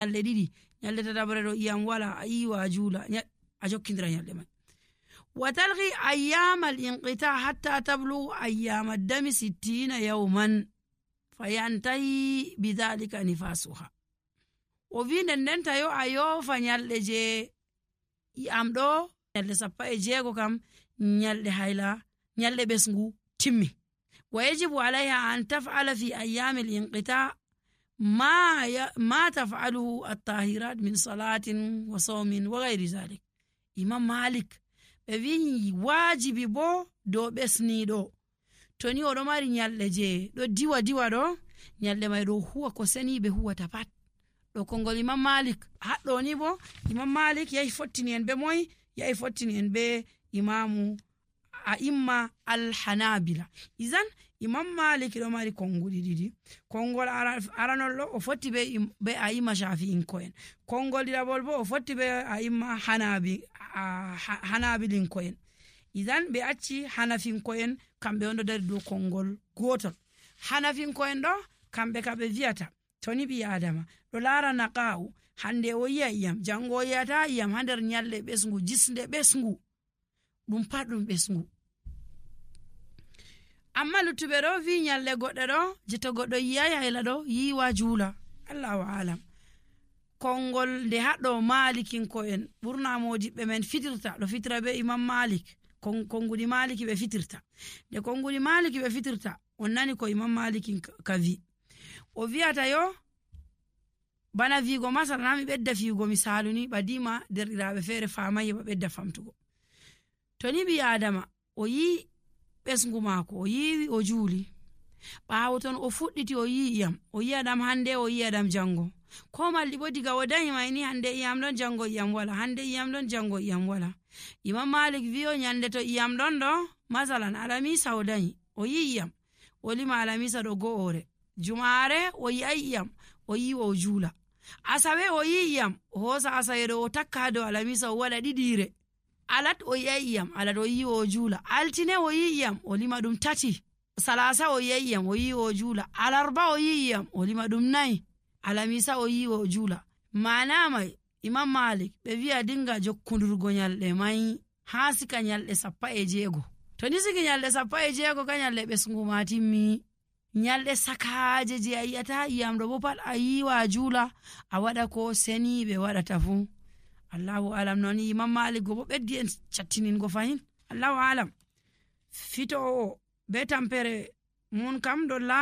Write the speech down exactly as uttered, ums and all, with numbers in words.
ñalɗe ɗiɗi, ñalɗe tataɓre ɗo iyam wala, a iwa a juula, a jokkindira ñalɗe may. Wa talqi ayyamal inqita hatta tablugu ayyamal dami sittina yawman, fa yantahi bidalika nifasuha. O wi nden nden tayo a yoofa ñalɗe je iyam ɗo, ñalɗe sappo e jeego kam, ñalɗe hayla, ñalɗe ɓesngu timmi. Wa yajibu alayha an tafala fi ayyamil inqita ma tafaluhu attahirat min salatin wa sawmin wa gayri zalik. Imam malik ɓe wi waajibi bo dow ɓesniiɗo, to ni oɗo mari ñalɗe je ɗo diwa diwa ɗo, ñalɗe may ɗo huwa ko seniiɓe huwata pat. Ɗo konngol imam malik. Haɗɗo ni bo, imam malik yahi fottini en be moy? Yahi fottini en be imamu a imma alhanabila. Izan, imam malik ɗo mari konnguɗi ɗiɗi. Konngol aranol ɗo o fotti be a imma shafi'inko'en. Konngol ɗiɗaɓol bo o fotti be a imma hanabilinko'en. Izan ɓe acci hanafinko'en, kamɓe on ɗo dari dow konngol gootol. Hanafinko'en ɗo, kamɓe ka ɓe viyata to ni ɓii adama ɗo laara naqa'u, hannde o yiya iyam, janngo o yiyata iyam haa nder ñalɗe ɓesngu jisnde ɓesngu. Ɗum pat ɗum ɓesngu. Amma luttuɓe ɗo wi ñalɗe goɗɗe ɗo, je to goɗɗo yiyayi hayla ɗo yiwa juula. Allahu alam. Konngol nde haɗɗo malikinko'en ɓurna modiɓɓe men fitirta ɗo fitira be imam malik. Konnguɗi maliki ɓe fitirta. Nde konnguɗi maliki ɓe fitirta, on nani ko imam malikin ka wi. O wiyata yo bana viigo masala na mi ɓedda fiyugo misaalu ni ɓadima derɗiraaɓe feere faamaye ba ɓedda famtugo. To ni ɓii adama o yi ɓesngu maako, o yiwi o juuli. Ɓaawo ton o fuɗɗiti o yi iyam, o yiya ɗam hannde, o yiya ɗam janngo. Ko malɗi bo diga o dañi may ni, hannde iyam ɗon, janngo iyam wala, hannde iyam ɗon, janngo iyam wala. Imam malik wi o ñande to iyam ɗon ɗo, masalan alamisa o dañi o yi iyam, o lima alamisa ɗo go'ore. Jumaare o yi'ay iyam, o yiwa o juula. Asawe o yi iyam, o hoosa asawe ɗo o takka haa dow alamisa o waɗa ɗiɗiire. Alat o yi'ay iyam, alat o yiwa o juula. Altine o yi iyam, o lima ɗum tati. Salasa o yi'ay iyam, o yiwa o juula. Alarba o yi iyam, o lima ɗum nayi. Alamisa o yiwa o juula. Maana may imam malik ɓe wi'a dinga jokkundurgo ñalɗe may haa sika ñalɗe sappo e jeego. To ni siki ñalɗe sappo e jeego ka ñalɗe ɓesngu ma timmi. Ñalɗe sakaaje je a yi'ata iyam ɗo bo pat a yiwa a juula, a waɗa ko seniiɓe waɗata fuu. Allahu alam. Noon imam malik go bo ɓeddi en cattiningo fahin. Allahu alam. Fito o be tampere mun kam ɗo laa